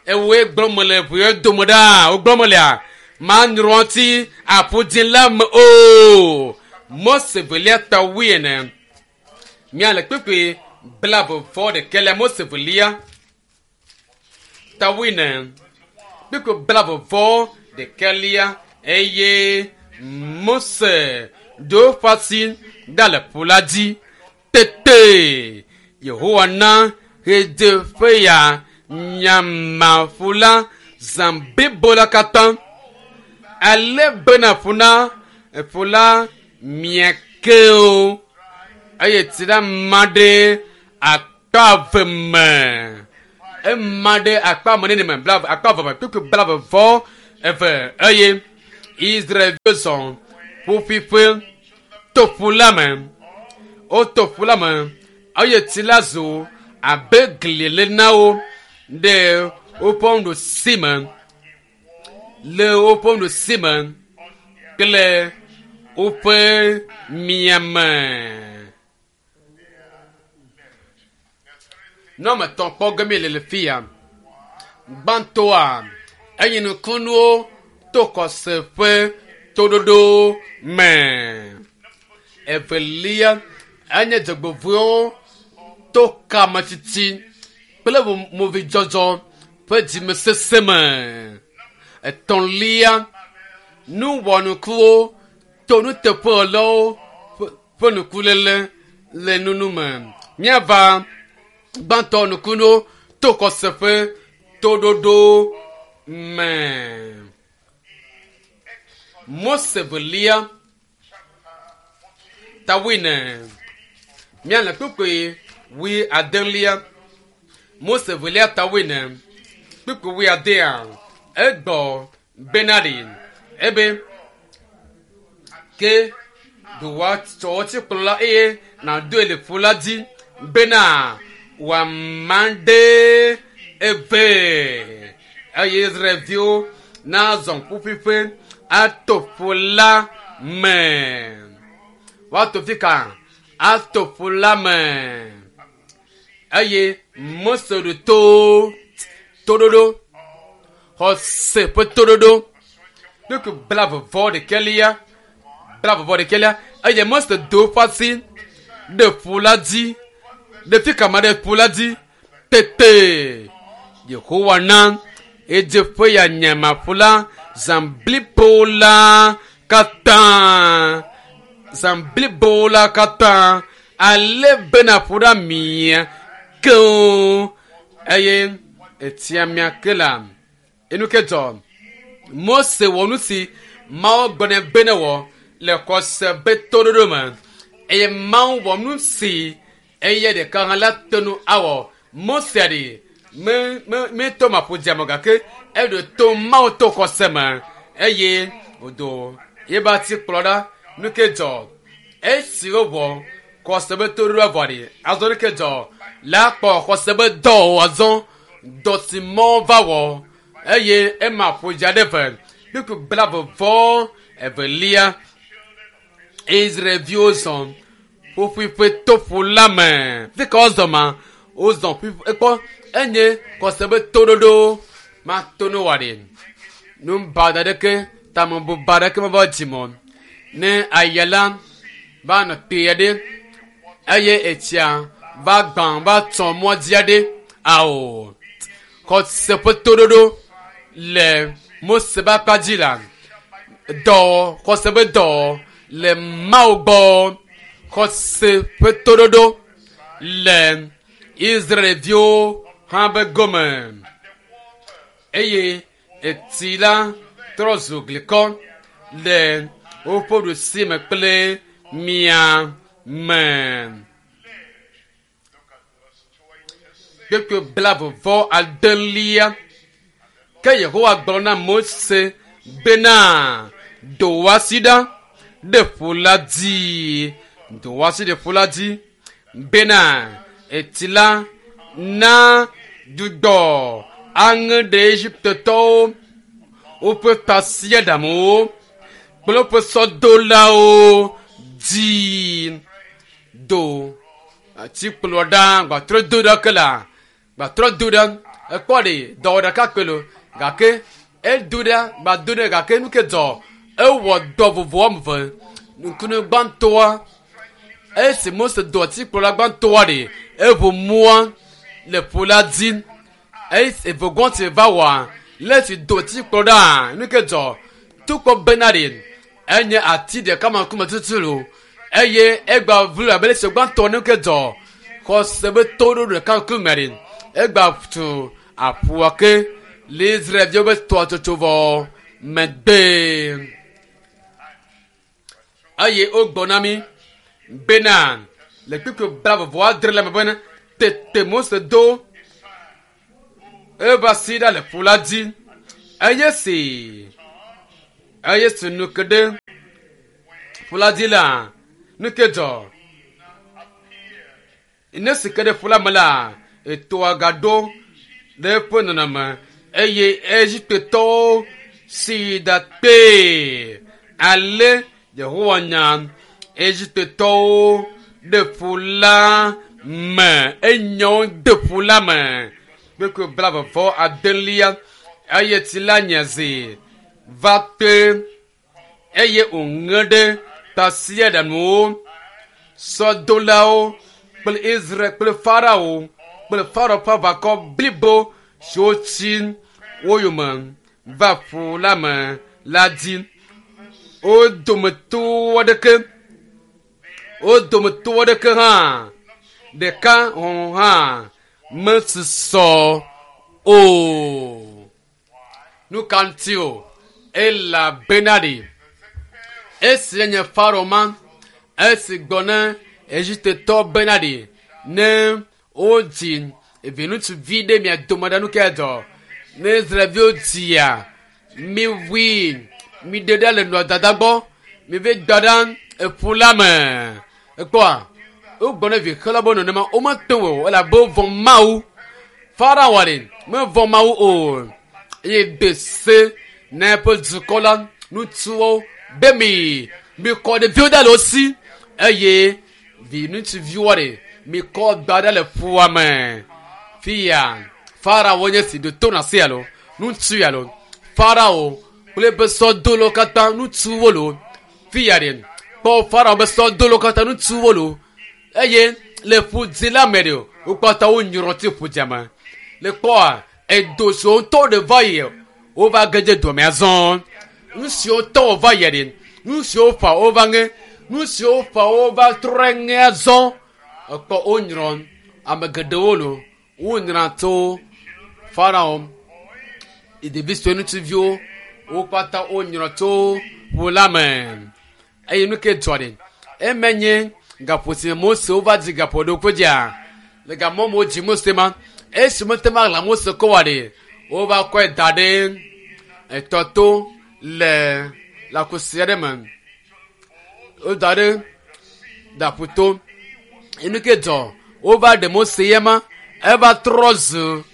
Ewoe gblɔm mele ʋu ye dome ɖa wogblɔm melea manyrɔ ŋuti aƒu dzĩ la me o. Mose velia ta wuiene míale kpukpui blaeve vɔ ɖekɛlia Mose velia ta wuiene kpukpui blaeve vɔ ɖekɛlia eye Mose ɖo eƒe asi ɖa le ƒu la dzi tete Yehowa na ɣedzeƒeya nyama ƒu la zã blibo la katã ale bena ƒu na ƒu la mia ke o eye tsi la ma ɖe akpa eve me Ema ɖe akpa me nene me blaeve akpa eve me kpukpui blaeve vɔ eve eye Israelviwo zɔ ƒuƒuiƒe to ƒu la me. Woto ƒu la me eye tsi la zu abe gli ene na wo ɖe woƒe nuɖusi me le woƒe nuɖusi me kple woƒe miame. Nɔme tɔ̃ kpɔ ge mi le le fi ya. Gbãtɔa enye nukunuwo to xɔse ƒe toɖoɖo me. Evelia enye dzɔgbevɔ̃ewo to kametiti kple movidzɔdzɔ ƒe dzimesese me. Etɔ̃lia nuwɔnukuwo to nuteƒewɔlawo ƒe nukulele le nunu me. Míava gbãtɔ nukunuwo to xɔse ƒe toɖoɖo me. Mose velia ta wuiene míale kpukpui wui adelia. Mose velia ta wuiene kpukpui wui adea egbɔ bena ɖi ebe ke ɖo wòatsɔ wò la eye nàdoe le ƒu la dzi bena wòama ɖe eve eye Israelviwo nazɔ ƒuƒuiƒe ato ƒu la me. Woato fi ka? Ato ƒu la me. Eye Mose ɖo to toɖoɖo xɔse ƒe toɖoɖo kpukpui blaeve vɔ ɖekɛlia blaeve vɔ ɖekɛlia eye Mose do eƒe asi ɖe ƒu la dzi ɖe fi ka ma ɖe ƒu la dzi tete Yehowa na edzeƒe ya nyama ƒu la zã blibo la katã zã blibo la katã ale bena ƒu ɖe mia keŋ eye etsia mia ke la enu ke dzɔ Mose wɔ nu si Mawu gblɔ nɛ be ne wɔ le xɔse be toɖoɖo me eye Mawu wɔ nu si eye ɖeka hã la te nu awɔ. Mose ɖi me me metɔ maƒo dzia me gake eɖo to Mawu to xɔse me eye wòdo yebe atikplɔ ɖa. Nu ke dzɔ esi wowɔ xɔse be toɖoɖo vɔ ɖi azɔ nu ke dzɔ la kpɔ xɔse be dɔ azɔ dɔ si mɔ va wɔ eye ema ƒo dza ɖe ve kpukpui blaeve vɔ evelia Israelviwo zɔ ƒuƒuiƒe to ƒu la me. Fi ka wozɔ ma? Wozɔ ƒuƒu ekpɔ enye xɔse be toɖoɖo mato ne wɔ ɖi. Nu baɖa ɖeke tamebuba ɖeke meva dzime o. Ne aya la va nɔ kpuie ɖe eye etsia va gbã va tsɔ mɔ dzi aɖe ao xɔse ƒe toɖoɖo le Mose ƒe akpa dzi la dɔ xɔse ƒe dɔ le Mawu gbɔ xɔse ƒe toɖoɖo le Israelviwo hã be gome eye etsi la trɔ zu glikɔ le woƒe ɖusi me kple mia me. Kpukpui blaeve vɔ adelia ke Yehowa gblɔ na Mose bena do wò asi ɖa ɖe ƒu la dzi do wò asi ɖe ƒu la dzi bena etsi la na dzudzɔ aŋe ɖe Egiptetɔwo woƒe tasiaɖamwo kple woƒe sɔdolawo dzi. Do atikplɔ ɖa gbatrɔ do ɖa ke la gbatrɔ do ɖa ekpɔ ɖe dɔwɔ ɖeka kpe lo gake edo ɖa gbado ɖe gake nu ke dzɔ ewɔ dɔ vovo wɔme eve nukunu gbãtɔa esi Mose do atikplɔ la gbãtɔa ɖe eʋu mɔa le ƒu la dzi esi evegɔ̃ si va wɔa le esi do atikplɔ ɖa nu ke dzɔ tukpɔ bena ɖe enye ati ɖeka ma ŋkume tutu lo eye egba vlu abe le si gbãtɔ nu ke dzɔ xɔse be toɖoɖo ɖeka ŋkume ɖe egba tu aƒua ke le Israelviwo be tɔa tsotso vɔ megbe eye wogblɔ na mi bena le kpukpui blaeve vɔ adre le me bena tete Mose do Eva si ɖa le ƒu la dzi. Eye si eye si nu ke ɖe ƒu la dzi la, nu ke dzɔ. Ne si ke ɖe ƒu la me la, etoa gaɖo ɖe eƒe nɔnɔme eye Egiptetɔwo si da kpee. Ale Yehowa nya Egiptetɔwo ɖe ƒu la me. Enya wo de ƒu la me. Kpekpe blaeve vɔ adelia eye tsi la nye zi va te eye wòŋe ɖe tasiaɖamwo, sɔdolawo kple Israel kple Farao kple Farao ƒe aʋakɔ blibo siwo tsi wo yome va ƒu la me la dzi. Wo dometɔ aɖeke wo dometɔ aɖeke hã ɖeka hɔ̃ hã mesusɔ o. Nu ka ŋuti o? Elabena ɖi esi nye Farao ma esi gbɔ ne Egiptetɔ bena ɖi ne wodzi vi ŋutsuvi ɖe mia dome ɖe nu ke dzɔ ne Israelviwo dzia miwui miɖe ɖa le nɔa dada gbɔ mive gba ɖa eƒu la me ekpɔa wogbɔ ne vi xela be nenema womete ŋu o elabe wovɔ̃ Mawu. Farao ɖe mevɔ̃ Mawu o eye de se na eƒe dukɔ la ŋutsuwo be mi mikɔ ɖeviwo da le wo si eye vi ŋutsuviwo ɖe mikɔ gba ɖe le ƒua me. Fia Farao nye si do to na se alo ŋutsu alo Farao kple eƒe sɔdolawo katã ŋutsuwo lo. Fia ɖe kpɔ Farao be sɔdolawo katã ŋutsuwo lo eye le ƒu dzi la me ɖe wo katã wonyrɔ tsi ƒu dzia me. Le kpɔa edo siwo ŋutɔ ɖe va yi wova ge dze dɔme azɔ. Nu siwo tɔ wova yi ɖe nu siwo fa wova ŋe nu siwo fa wova trɔ ŋe azɔ. Ekpɔ wonyrɔ ame geɖewo lo wonyrɔ tso Farao ɖevi sue ŋutsuviwo wo katã wonyrɔ tso ƒu la me. Eye nu ke dzɔ ɖe eme nye gaƒo si me Mose wova dzi gaƒo ɖokui dzia le gamɔ me wodzi Mose ma esi mete ma ɣla Mose kɔ wa ɖe wova kɔe da ɖe etɔ to le lãkusi aɖe me. Woda ɖe daƒuto. Enu ke dzɔ wova ɖe Mose ya ma eva trɔ zu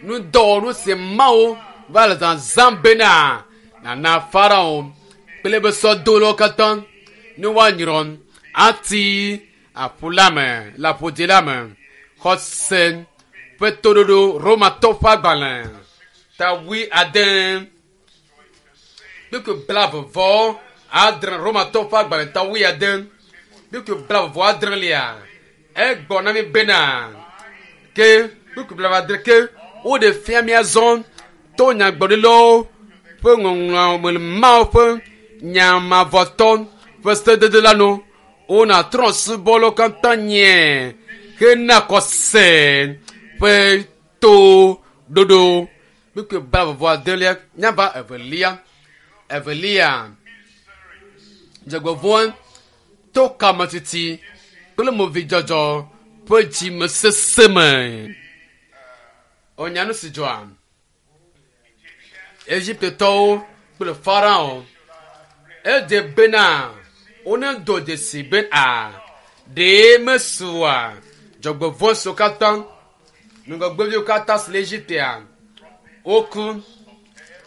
nudɔwɔnu si Mawu va le zazãm bena nana Farao kple eƒe sɔdolawo katã ne woanyrɔ ati aƒu la me le aƒudzi la me. Xɔse ƒe toɖoɖo Romatɔ ƒe agbalẽ ta wui ade kpukpui blaeve vɔ adre Romatɔ ƒe agbalẽ ta wui ade kpukpui blaeve vɔ adrelia egbɔ na mi bena ke kpukpui blaeve adre ke woɖe fia mía zɔ to nyagblɔɖilawo ƒe ŋɔŋlɔ me Mawu ƒe nyamavɔtɔ ƒe sedede la nu wona trɔ̃subɔlawo katã nye hena xɔse ƒe to ɖoɖo. Kpukpui blaeve vɔ adelia nyava evelia evelia dzɔgbevɔ̃e to kametiti kple movidzɔdzɔ ƒe dzimesese me. Wonya nu si dzɔa Egiptetɔwo kple Farao edze bena wonedo dzesi be a ɖee mesua dzɔgbevɔ̃e siwo katã ŋgɔgbeviwo katã si le Egiptea woku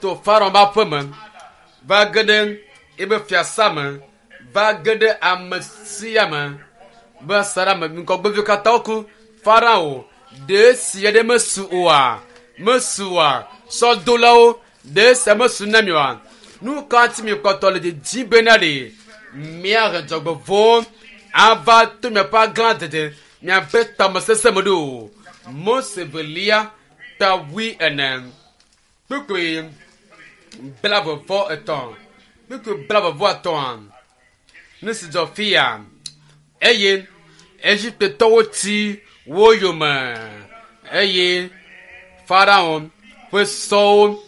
to Farao ƒe aƒe me va ge ɖe eƒe fiasa me va ge ɖe ame sia me be saɖa me ŋgɔgbeviwo katã woku Farao ɖe sia ɖe mesu oa mesua sɔdolawo ɖe sia mesu na mi oa nu ka ŋuti mi kpɔtɔ le dzidzi bena ɖe miahe dzɔgbevɔ̃ ava to miaƒe aglã dede miaƒe tamesese me ɖo. Mose velia ta wui ene kpukpui blaeve vɔ etɔ̃ kpukpui blaeve vɔ atɔ̃a nu si dzɔ fia eye Egiptetɔwo tsi wo yome eye Farao ƒe sɔwo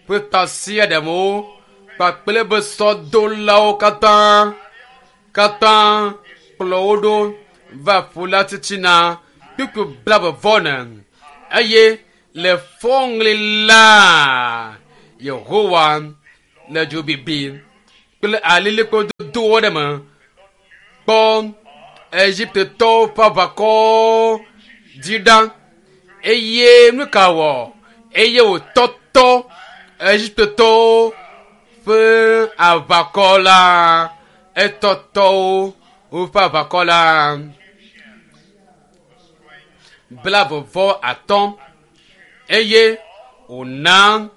ƒe tasiaɖamwo kpakple eƒe sɔdolawo katã katã kplɔ wo ɖo va ƒu la titina kpukpui blaeve vɔ ene eye Le fɔŋli la Yehowa le dzobibi kple alilikpo dodowo ɖe me kpɔ Egiptetɔwo ƒe aʋakɔ dzi ɖa eye nu ka wɔ eye wòtɔtɔ Egiptetɔwo ƒe aʋakɔ la etɔtɔwo woƒe aʋakɔ la blavevɔ atɔ̃ eye wòna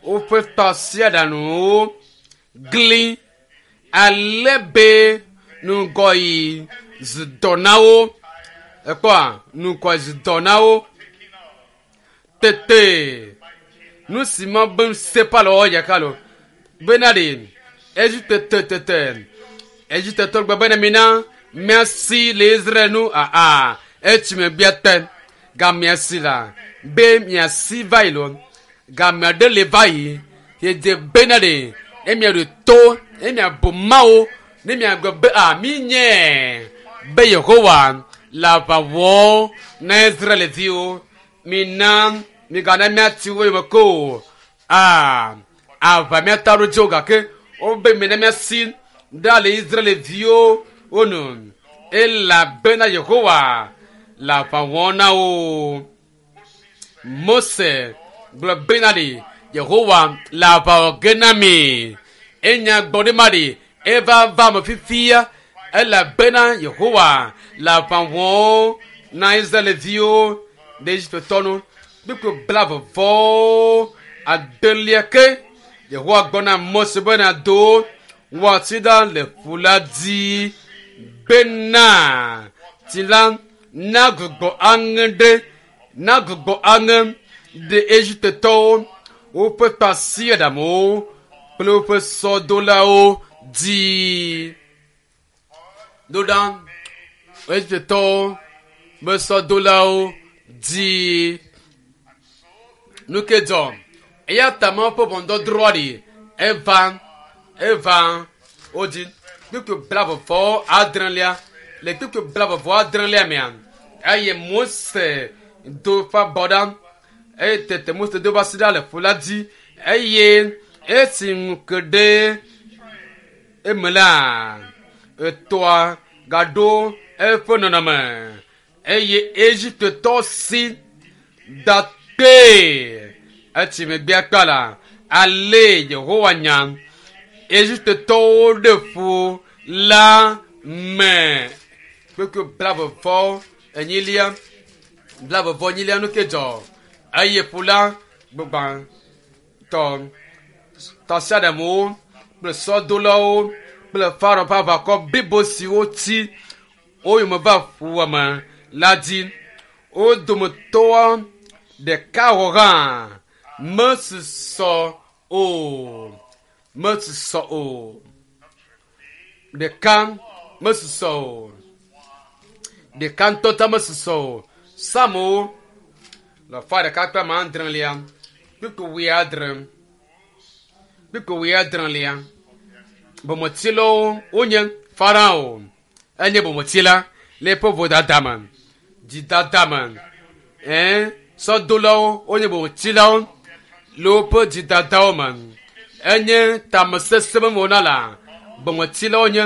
woƒe tasiaɖaŋuwo gli ale be ŋgɔyi zu dɔ na wo ekpɔa ŋgɔyi zu dɔ na wo tete nu si ma be sepa le wɔwɔ yaka lo bena ɖe Egipte tete Egiptetɔ gbe bena mina miasi le Israel nu aa etsi megbea te gamea si la be miasi va yi lo gamea ɖe le va yi yede bena ɖe ne miaɖo to ne miabu Mawu ne miagblɔ be a mi nye be Yehowa le aʋa wɔm na Israelviwo mina migana miati wo yome ko o a aʋa miata ɖo dzi o gake wobe mina miasi ɖa le Israelviwo wo nu elabena Yehowa le aʋa wɔm na wo. Mose gblɔ bena ɖe Yehowa le aʋa wɔ ge na mi. Enya gbɔ ɖe ma ɖe eva va me fifia elabena Yehowa le aʋa wɔm na Israelviwo ɖe Egiptetɔ nu. Kpukpui blavevɔ adelia ke Yehowa gblɔ na Mose bena do woati ɖa le ƒu la dzi bena tsi la nagbugbɔ aŋe ɖe nagbugbɔ aŋe ɖe Egiptetɔwo woƒe tasiaɖamwo kple woƒe sɔdolawo dzi. Do ɖa Egiptetɔwo ƒe sɔdolawo dzi. Nu ke dzɔ eya ta Mawu ƒe ʋɔnudɔdrɔ̃ ɖi eva eva wodzi kpukpui blavevɔ adrelia le kpukpui blavevɔ adrelia mea eye Mose do eƒe abɔ ɖa eye tete Mose do eƒe asi ɖa le ƒu la dzi eye esi ŋu ke ɖe eme la etɔa gaɖo eƒe nɔnɔme eye Egiptetɔ si da kpee etsi megbea kpa la ale Yehowa nya Egiptetɔwo ɖe ƒu la me. Kpukpui blavevɔ enyilia blavevɔ enyilia nu ke dzɔ eye ƒu la gbugbãtɔ tasiaɖamwo kple sɔdolawo kple Farao ƒe aʋakɔ blibo siwo tsi wo yome va ƒua me la dzi. Wo dometɔ ɖeka wɔ hã mesusɔ o mesusɔ o ɖeka mesusɔ o ɖeka ŋutɔ ta mesusɔ o. Psalmowo le fa ɖeka kple ame adrelia kpukpui wuiadre kpukpui wuiadrelia bometsilawo wonye Farao enye bometsila le eƒe vodada me dzidada me ɛɛ sɔdolawo wonye bometsilawo le woƒe dzidadawo me enye tamesesẽ me wɔna la bometsilawo nye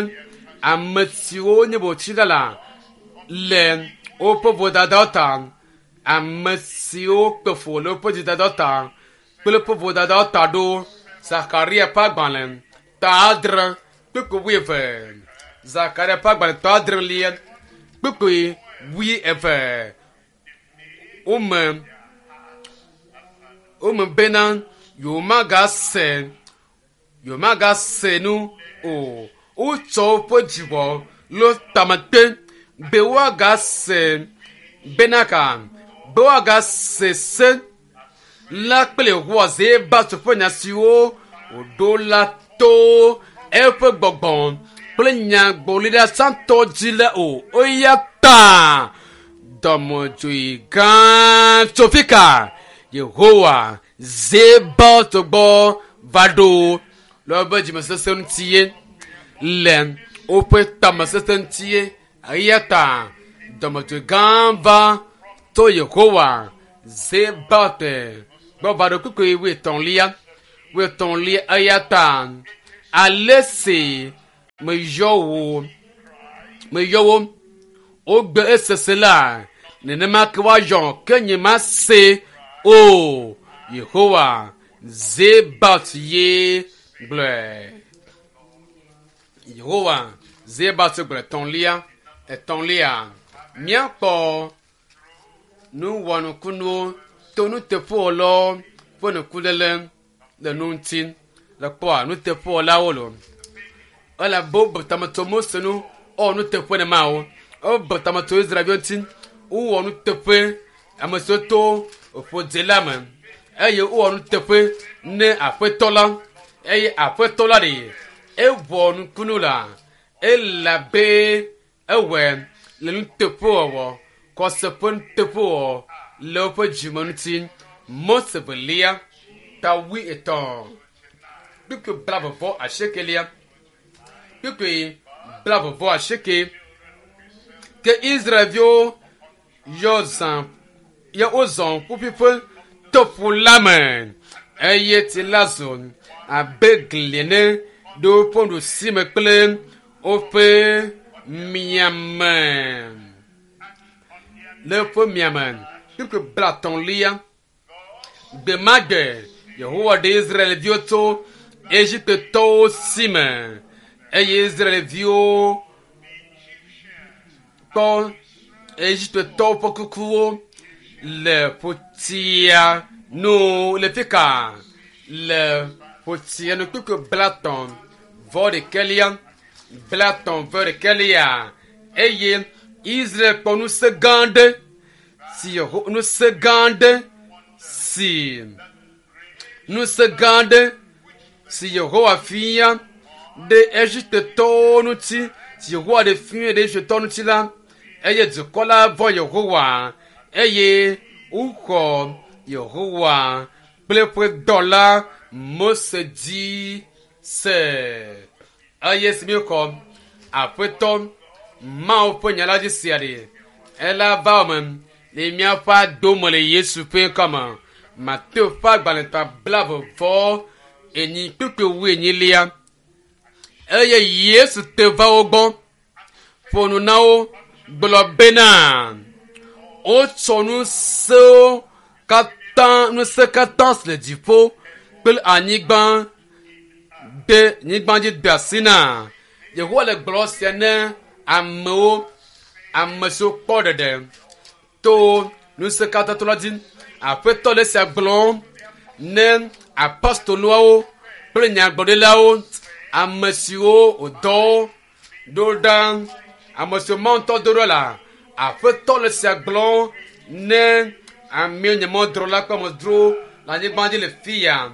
ame siwo nye bometsila la le woƒe vodadawo ta ame siwo kpe fu le woƒe dzidadawo ta kple woƒe vodadawo ta ɖo Zakaria ƒe agbalẽ ta adre kpukpui wuieve Zakaria ƒe agbalẽ ta adrelia kpukpui wuieve wome wome bena yewomagase yewomagase nu o wotsɔ woƒe dziwɔ le tamete be woagase bena ka be woagase se la kple Yehowa Zebaot ƒe nya siwo wòɖo la to eƒe gbɔgbɔ kple nyagblɔɖila tsãtɔ dzi la o. Eya ta dɔmedzoe gã tso fika Yehowa Zebaot gbɔ va ɖo le woƒe dzimesesẽ ŋuti ye le woƒe tamesesẽ ŋuti ye eya ta dɔmedzoe gã va to Yehowa Zebaot gbɔ va ɖo kpukpui wuietɔ̃lia wuietɔ̃lia eya ta ale si meyɔ wo meyɔ wo wogbe esese la nenema ke woayɔ ke nye mase o Yehowa Zebaot ye gblɔe. Yehowa Zebaot gblɔe etɔ̃lia etɔ̃lia míakpɔ nuwɔnukunuwo to nuteƒewɔlawo ƒe nukuléle le nu ŋuti le kpɔa nuteƒewɔlawo lo elabe wobe tametɔ Mose nu wowɔ nuteƒe ne Mawu wobe tametɔ Israelviwo ŋuti wowɔ nuteƒe ame siwo to ƒodze la me eye wowɔ nuteƒe ne aƒetɔ la eye aƒetɔ la ɖe ewɔ nukunu la elabe ewɔe le nuteƒewɔwɔ kɔse ƒe nuteƒewɔwɔ le woƒe dzime ŋuti. Mose velia ta wuietɔ̃ kpukpui blaeve vɔ asiekelia kpukpui blaeve vɔ asieke ke Israelviwo yɔ zã ye wozɔ ƒuƒuiƒe to ƒu la me eye tsi la zu abe gli ene ɖe woƒe ɖusime kple woƒe miame le woƒe miame kpukpui blatɔ̃lia gbe ma gbe Yehowa ɖe Israelviwo tso Egiptetɔwo si me eye Israelviwo kpɔ Egiptetɔwo ƒe kukuwo le ƒotia nu le fi ka le ƒotia nu kpukpui blatɔ̃ vɔ ɖekɛlia blatɔ̃ vɔ ɖekɛlia eye Israel kpɔ ŋusẽ gã aɖe si Yeho ŋusẽ gã aɖe si ŋusẽ gã aɖe si Yehowa fia ɖe Egiptetɔwo ŋuti si Yehowa ɖe fia ɖe Egiptetɔwo ŋuti la eye dukɔ la vɔ̃ Yehowa eye woxɔ Yehowa kple eƒe dɔla Mose dzi se eye si míexɔ aƒetɔ Mawu ƒe nya la dzi sia ɖe ela va me le míaƒe adome le Yesu ƒe ŋkɔme. Mateo ƒe agbalẽ ta blaeve vɔ enyi kpukpui wuienyilia eye Yesu te va wo gbɔ ƒo nu na wo gblɔ bena wotsɔ ŋusẽwo katã ŋusẽ katã si le dziƒo kple anyigba de nyigba dzi de asi na Yehowa le gblɔ sia ne amewo ame siwo kpɔ ɖeɖe to ŋusẽ katã la dzi. Aƒetɔ le sia gblɔm ne apostoloawo kple nyagblɔɖilawo ame siwo wòdɔ ɖo ɖa ame siwo Mawu ŋutɔ do ɖo la aƒetɔ le sia gblɔm ne amewo nye mɔdrɔla kple amedzrowo le anyigba dzi le fi ya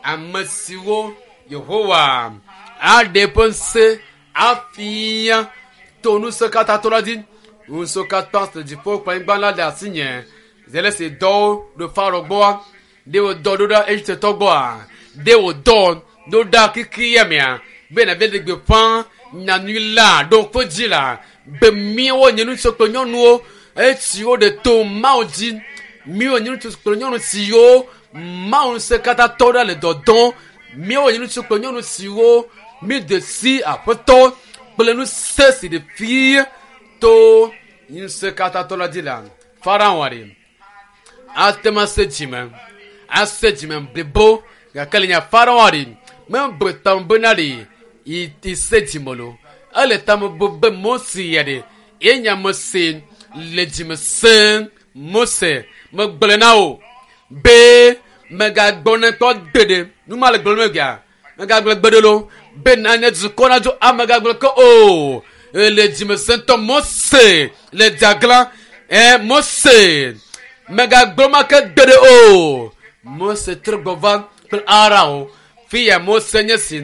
ame siwo Yehowa aɖe eƒe ŋusẽ afia to ŋusẽ katã to la dzi ŋusẽ katã si le dziƒo kple anyigba la le asinye zele si dɔwo ɖo Farao gbɔa ɖe wòdɔ ɖo ɖa Egiptetɔ gbɔa ɖe wòdɔ ɖo ɖa kiki ya mea be nàbe ɖe gbeƒã nyanyui la ɖo ƒe dzi la be míawo nye ŋutsu kple nyɔnuwo esiwo ɖe to Mawu dzi míawo nye ŋutsu kple nyɔnu siwo Mawu ŋusẽ katã tɔ ɖa le dɔdɔm míawo nye ŋutsu kple nyɔnu siwo míede si aƒetɔ kple ŋusẽ si ɖe fia to ŋusẽ katã tɔ la dzi la Farao ɖe ate ŋu ase dzime ase dzime blibo gake le nya Farao ɖe mebu tame bena ɖe yi se dzime lo ele tame bu be Mose ya ɖe ye ame si le dzime sẽm Mose megblɔe na wo be megagbɔ ne kpɔ gbeɖe nu ma le gblɔm egbea megagblɔ gbeɖe lo be na nye dukɔ na dzo amegagblɔ ke o le dzime sẽtɔ Mose le dzagla ɛ Mose megagblɔ ma ke gbeɖe o Mose trɔ gbɔ va kple Aron fi ya Mose nye si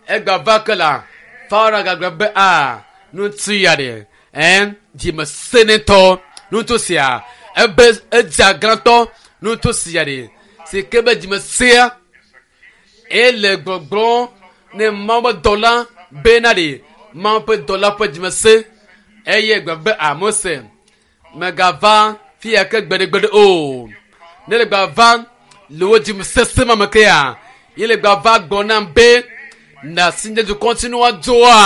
egba va ke la Farao gagblɔ be a ŋutsu ya ɖe ɛ dzime sẽnetɔ ŋutsu sia ebe edzaglãtɔ ŋutsu sia ɖe si ke be dzime sea ele gbɔgblɔm ne Mawu ƒe dɔla bena ɖe Mawu ƒe dɔla ƒe dzime sẽ eye gblɔ be a Mose megava fi ya ke gbeɖegbeɖe o Ne le gba va le wo dzim sese ma me kea ye le gba va gbɔ nam be na si nye dukɔ ŋuti ne woadzoa.